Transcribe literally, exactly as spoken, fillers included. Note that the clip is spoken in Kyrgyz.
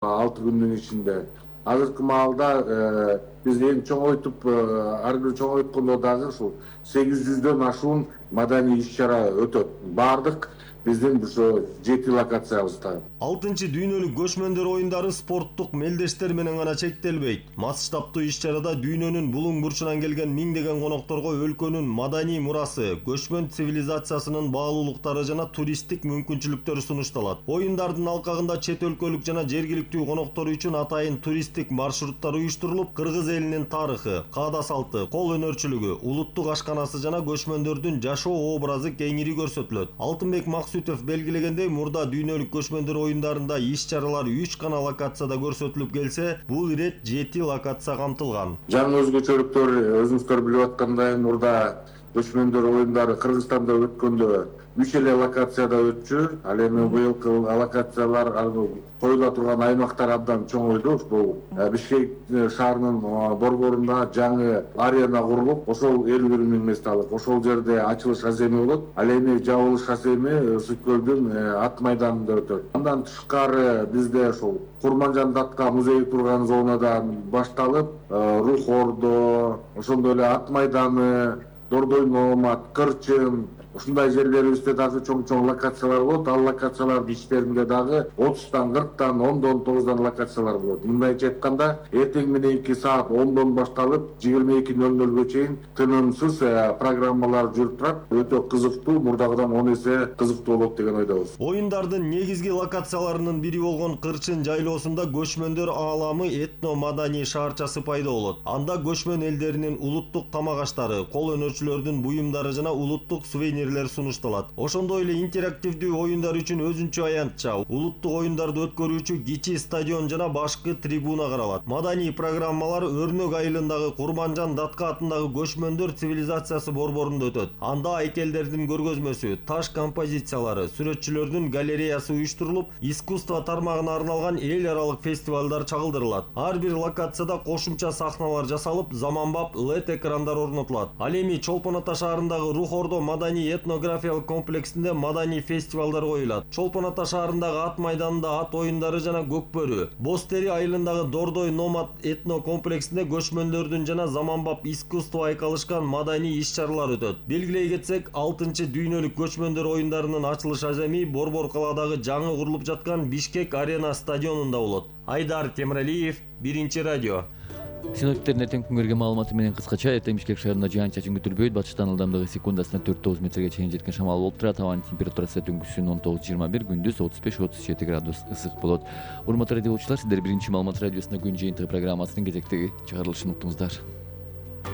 алты күндүн ичинде. Азыркы маалда биз эң чоңойтуп, ар бир чоңойткондо дагы ушул сегиз жүздөн ашуун маданий иш-чара өтөт. Бардык биздин ошо жети локациябызда. алтынчы дүйнөлүк көчмөндөр оюндары спорттук мелдештер менен гана чектелбейт. Масштабтуу иш-чарада дүйнөнүн булуң бурчунан келген миңдеген конокторго өлкөнүн маданий мурасы, көчмөн цивилизациясынын баалуулуктары жана туристтик мүмкүнчүлүктөрү сунушталат. Оюндардын алкагында чет өлкөлүк жана жергиликтүү коноктор үчүн атайын туристтик маршруттар уюштурулуп, кыргыз элинин тарыхы, каада салты, кол өнөрчүлүгү, улуттук ашканасы жана көчмөндөрдүн жашоо образы кеңири көрсөтүлөт. Алтынбек Максутов белгилегендей, мурда дүйнөлүк көчмөндөр оюндарында иш-чаралар үч гана локацияда көрсөтүлүп келсе, бул ирет жети локация камтылган. Жаңы өзгөчөлүктөр өзүңүздөр билип аткандай, мурда көчмөндөр оюндары Кыргызстанда өткөндө үч эле локацияда өтчү. Ал эми быйылкы локациялар коюла турган аймактар абдан чоңойду. Бул Бишкек шаарынын борборунда жаңы арена курулуп, ошол элүү бир миң месталык. Ошол жерде ачылыш аземи болот. Ал эми жабылыш аземи Сүт көлдүн ат майданында өтөт. Андан тышкары бизде ошол Курманжан датка музеи турган зонадан башталып, Рух Ордо, ошондой эле ат майданы, Дордой Номат, Кырчын, ушундай жерлерибизде дагы чоң-чоң локациялар болот. Ал локациялардын ичтеринде дагы отуздан, кырктан, ондон, тогуздан локациялар болот. Мындайча айтканда, эртең мененки саат ондон башталып, жыйырма эки нөл нөлгө чейин тынымсыз программалар жүрүп турат. Өтө кызыктуу, мурдагыдан он эсе кызыктуу болот деген ойдобуз. Оюндардын негизги локацияларынын бири болгон Кырчын жайлоосунда көчмөндөр ааламы этно-маданий шаарчасы пайда болот. Анда көчмөн элдеринин улуттук тамак аштары, кол өнөрчүлөрдүн буюмдары жана улуттук сувенирлер сунушталат. Ошондой эле интерактивдүү оюндар үчүн өзүнчө аянтча, улуттук оюндарды өткөрүүчү кичи стадион жана башкы трибуна каралат. Маданий программалар Өрнөк айылындагы Курманжан датка атындагы көчмөндөр цивилизациясы борборунда өтөт. Анда айкелдердин көргөзмөсү, таш композициялары, сүрөтчүлөрдүн галереясы уюштурулуп, искусство тармагына арналган эл аралык фестивалдар чагылдырылат. Ар бир локацияда кошумча сахналар жасалып, заманбап лед экрандар орнотулат. Ал эми Чолпон Ата шаарындагы Рух Ордо маданий этнографиялык комплексинде маданий фестивалдар коюлат. Чолпон Ата шаарындагы ат майданында ат оюндары жана Көкбөрү, Бостери айылындагы Дордой Номад этно комплексинде көчмөндөрдүн жана заманбап искусство айкалышкан маданий иш-чаралар өтөт. Белгилей кетсек, алтынчы дүйнөлүк көчмөндөр оюндарынын ачылыш аземи Борбор калаадагы жаңы курулуп жаткан Бишкек арена стадионунда болот. Айдар Темиралиев, Биринчи радио. Синоптиктердин эртең күнгөргө маалыматы менен кыскача: эртең Бишкек шаарында жаан-чачын күтүлбөйт. Батыштан ылдамдыгы секундасына төрт тогуз метрге чейин жеткен шамал болуп турат. Абанын температурасы түнкүсүн он тогуз жыйырма бир, күндүз отуз беш отуз жети градус ысык болот. Урматтуу радио окуучулар, сиздер Биринчи маалымат радиосунда күн жыйынтыгы программасынын кезектеги чыгарылышын уктуңуздар.